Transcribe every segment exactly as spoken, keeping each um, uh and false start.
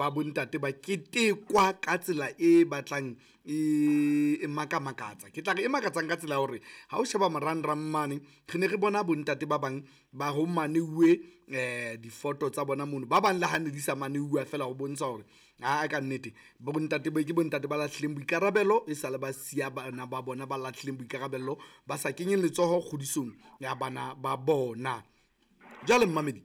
Ba bontate ba ketekwa ka tsela e batlang e makamakatsa. Ke tla re e makatsang ka tsela ya hore ha o sheba marangrang mane, re ne re bona bontate ba bang ba ho maneuwe um difoto tsa bona mono, ba bang le ha ne di sa maneuwa feela ho bontsha hore aa ka nnete bontate ba ke bontate ba lahlileng boikarabelo, e sale ba siya bana ba bona, ba lahlileng boikarabelo, ba sa kenyeng letsoho kgodisong ya bana ba bona. Jwale mmamedi,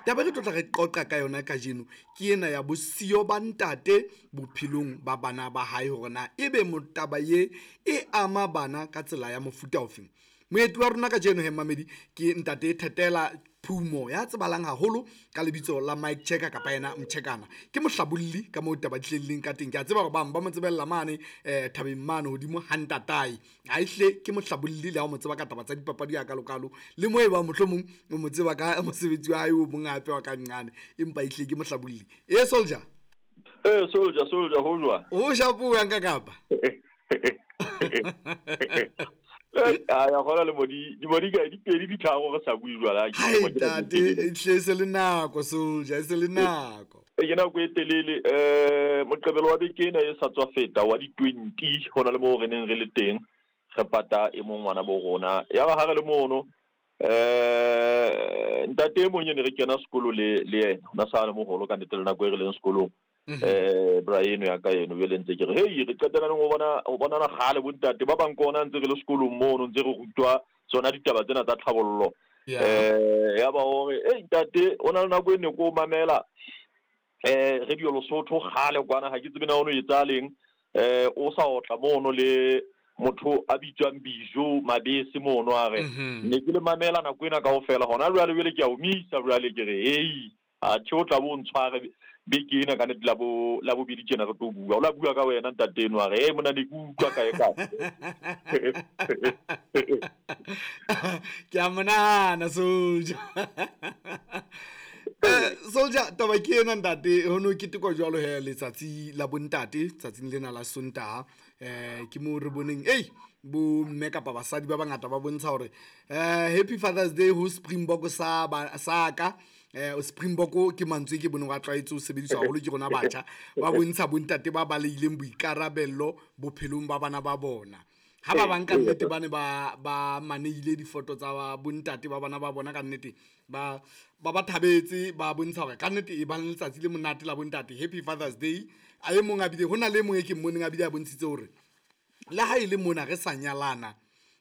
taba e re tlo tla re qoqa ka yona kajeno ke ena ya bosiyo ba ntate bophelong ba bana ba hae, hore na ebe taba ye e ama bana ka tsela ya mofuta ofeng. Moeti wa rona kajeno he mmamedi ke ntate Thetela Phumo ya tsebahalang haholo ka lebitso la Mike Checker kapa yena Mchekana. Ke mohlabolli ka moo taba di hlelleng ka teng. Ke a tseba hore bang ba mo tsebella mane um thabeng mane hodimo ha ntatae, ha ehlile ke mohlabolli le ha o mo tseba ka taba tsa dipapadi a kalokalo, le mo e bang mohlomong o mo tseba ka mosebetsi wa hae o mong hape wa ka nqane, empa ehlile ke mohlabolli. E soldier, Eh soldier, soldier ho jwang? O shapo yang ka kapa? A ya gona le modi di modi ka di pedi di tharo re sa bue jwala. Hai ntate, ehlile se le nako soldier, e se le nako. E ke nako e telele. eh Moqebelo wa beke ena e sa tswa feta wa di twenty, hona le moo re neng re le teng re pata e mong ngwana bo rona. Ya ba ha re le mono, eh ntate e mong e ne re kena sekolo le le yena, ona sa le moholo ka nnete le nako e re leng sekolong. Eh bra eno ya ka eno jwale ntse ke re hei re qetela neng ho bona ho bonana kgale bontate ba bang kona ntse re le sekolong mono ntse re rutwa tsona ditaba tsena tsa tlhabollo. Eh ya ba hore ei ntate o na le nako e ne ko mamela eh Radio Lesotho kgale kwana, ha ke tsebe na ono etsa leng, eh o sa otla mono le motho a bitswang Bijo Mabese mono, a re ne ke le mamela nako ena kaofela, hona jwale jwale ke a omisa jwale ke re hei a tjhe o tla bo ntshware beke ena ka nnete la bo la bobedi tjena re tlo bua, o la bua ka wena ntate eno, a re hey mona ne ke utlwa kae kae. Ke a monahana soldier. Eh soldier, taba ke ena ntate, ho no ketekwa jwalo he letsatsi la bontate tsatsing lena la Sontaha. Eh ke mo re boneng ei bo mme kapa basadi ba bangata ba bontsha hore eh Happy Father's Day ho Springbok sa sa ka. Eh Springbok ke mantswe ke boneng wa tlwaetse ho sebediswa haholo ke rona batjha, ba bontsha bontate ba baleileng boikarabello bophelong ba bana ba bona. Ha ba bang ka nnete ba ne ba ba maneile difoto tsa bontate ba bana ba bona, ka nnete ba ba ba thabetse, ba bontsha hore ka nnete e bang letsatsi le monate la bontate, Happy Father's Day. A e mong a bile hona le mong e ke mmoneng a bile a bontshitse hore le ha e le mona re sa nyalana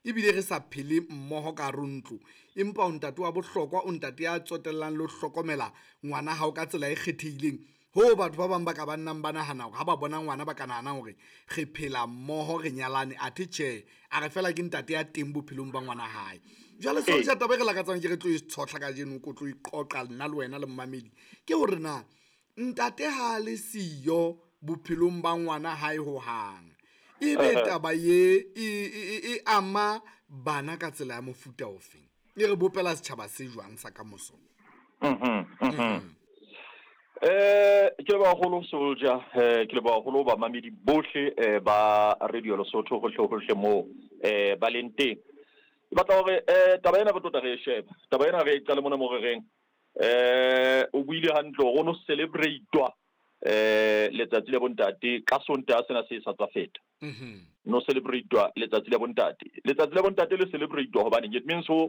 ebile re sa phele mmoho ka hare ho ntlo, empa o ntate wa bohlokwa, o ntate ya tsotellang le ho hlokomela ngwana hao ka tsela e kgethehileng. Ho batho ba bang ba ka ba nnang ba nahana hore ha ba bona ngwana ba ka nahana hore re phela mmoho re nyalane, athe tjhe, a re fela ke ntate ya teng bophelong ba ngwana hae. Jwale soldier, taba e re lakatsang ke re tlo e tshohla kajeno, ko tlo e qoqa nna le wena le mmamedi, ke hore na ntate ha le siyo bophelong ba ngwana hae hohang, ebe taba ye e e ama bana ka tsela ya mofuta ofeng, e re bopela setjhaba se jwang sa kamoso? Mhm mhm Eh ke le baholo soldier, eh ke le baholo ba mamedi bohle eh ba Radio Lesotho hohle hohle mo eh ba leng teng. Ke batla hore eh taba ena re tlo tla re e sheba. Taba ena re e qale mona mo re reng eh o buile hantle hore no celebrate-wa eh letsatsi la bontate ka Sontaha sena se sa tswa feta. Mhm. No celebrate-wa letsatsi la bontate. Letsatsi la bontate le celebrate-wa hobane it means ho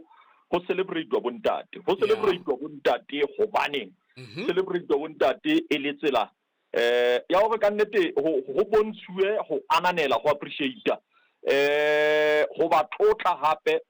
ho celebrate-wa bontate. Ho celebrate-wa bontate hobaneng? Celebrate-wa bontate e le tsela eh ya hore ka nnete ho ho bontshuwe ho ananela, ho appreciate eh ho ba tlotla hape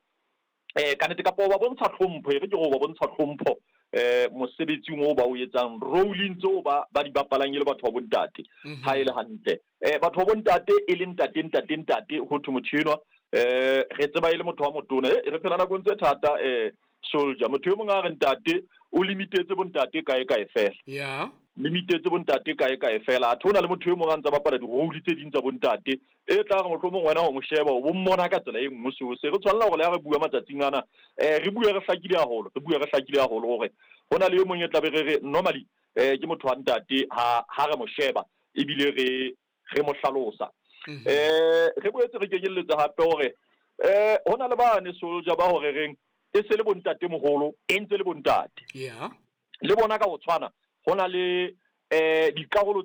eh ka nnete kapa ba bontsha tlhompho, e re ke go ba bontsha tlhompho eh mosebetsing o ba o etsang, rolling tseo ba ba di bapalang e le batho ba bontate. Ha e le hantle eh batho ba bontate e le ntate ntate ntate ho thwe motho enwa eh re tseba e le motho wa motona, eh re phela nakong tse thata eh soldier. Motho e mong a re ntate o limitetse bontate kae kae fela, yeah limitetse bontate kae kae fela, a thona le motho e mong a ntsa bapala di-role tse ding tsa bontate e tla re mohlomong wena o mo sheba o bo mmona ka tsela e nngwe. Seo se re tshwanela hore le ha re bua matsatsing ana eh re bue re hlakile haholo, re bue re hlakile haholo hore ho na le e mong e tla be re re normally eh ke motho wa ntate ha ha re mo sheba ebile re re mo hlalosa. Eh re boetse re kenyelletsa hape hore eh ho na le bane soldier ba hore reng e se le bontate moholo e ntse le bontate, yeah le bona ka ho tshwana ho na le eh dikarolo